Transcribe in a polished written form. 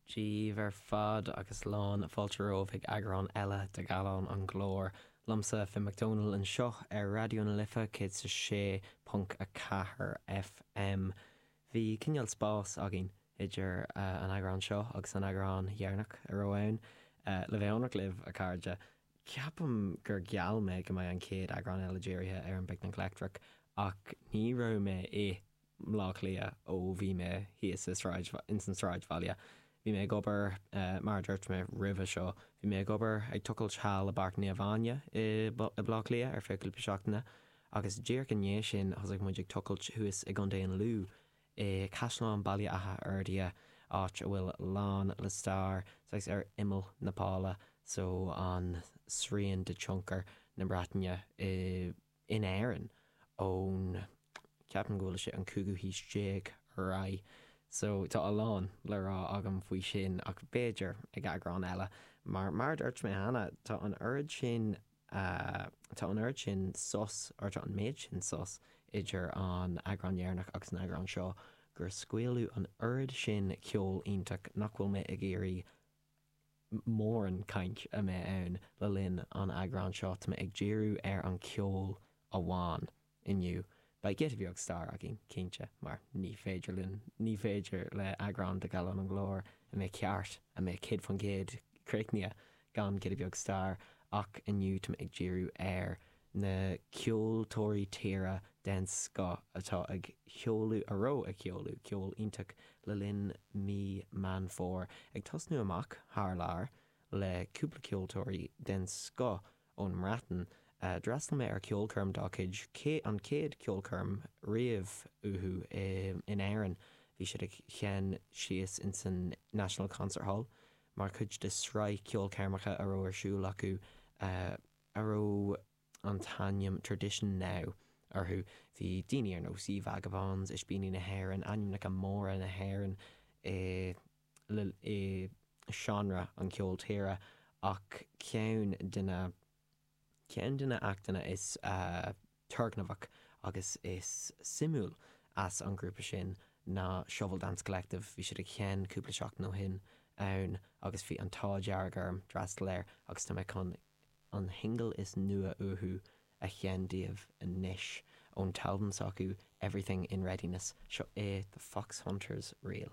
Daoibh ar fad agus lán fáilte romhaibh chuig eagrán eile de Gallán an Ghlóir. Liomsa, Finn Mac Dónaill anseo ar Raidió na Life 106.4 FM. Bhí cineál spás againn idir an eagrán seo agus an eagrán dheireanach a raibh ann. Le bheith ionraic libh, a chairde, ceapaim gur gheall mé go mbeidh an chéad eagrán eile dírithe ar an bPicnic Leictreach ach ní raibh mé i mBleá Cliath ó bhí mé thíos i sráid, ins an sráidbhaile. Bhí mé ag obair, mar a dúirt mé roimhe seo, bhí mé ag obair ag tochailt thall i bPáirc Naomh Áine i mBleá Cliath ar feadh cúpla seachtaine agus díreach i ndiaidh sin thosaigh muid ag tochailt thuas i gContae an Lú i Caisleán Baile Átha Fhirdhia, áit a bhfuil lán le stair, saghas ar imeall na Páile so an srian de tionchar na Breataine i. in Éirinn ón, ceapaim go bhfuil sé an cúigiú haois déag ar aghaidh. So tá a lán le rá agam faoi sin ach b'fhéidir ag eagrán eile. Mar, mar a dúirt mé cheana, tá an oiread sin, tá an oiread sin sos, or tá an méid sin sos idir an eagrán dheireanach agus an eagrán seo gur scaoileadh an oiread sin ceol iontach nach bhfuil mé ag iarraidh mórán caint a mbeidh ann le linn an eagráin seo. Tá mé ag díriú ar an ceol amháin inniu. Beidh giota beag stair againn, cinnte, mar ní féidir linn, ní féidir le eagrán de Gallán an Ghlóir a mbeidh ceart, a mbeidh 100% críochnaithe gan giota beag stair, ach inniu tá mé ag díriú ar na ceoltóirí tíre den scoth atá ag seoladh, a raibh ag seoladh ceol iontach le linn mí Meán Fómhair, ag tosnú amach thar lear le cúpla ceoltóirí den scoth ón mBreatain. D'fhreastail mé ar ceolchoirm dá cuid, an chéad ceolchoirm riamh uathu in Éirinn. Bhí siad ag seinm síos insan National Concert Hall mar chuid de sraith ceolchoirmeacha a raibh ar siúl acu. a raibh an t-ainm Tradition Now orthu. Bhí daoine ar nós Ye Vagabonds, Ispíní na hÉireann, ainmneacha móra na hÉireann i i seánra an cheoil tíre ach ceann de na ceann de na actanna is turgnamhach agus is suimiúil as an ghrúpa sin ná Shovel Dance Collective. Bhí siad ag seinm cúpla seachtain ó shin ann agus bhí an t-ádh dearg orm d'fhreastal air agus tá mé chun an shingil is nua uathu a sheinm daoibh anois ón t-albam s'acu Everything in Readiness. Seo é The Fox Hunters Reel.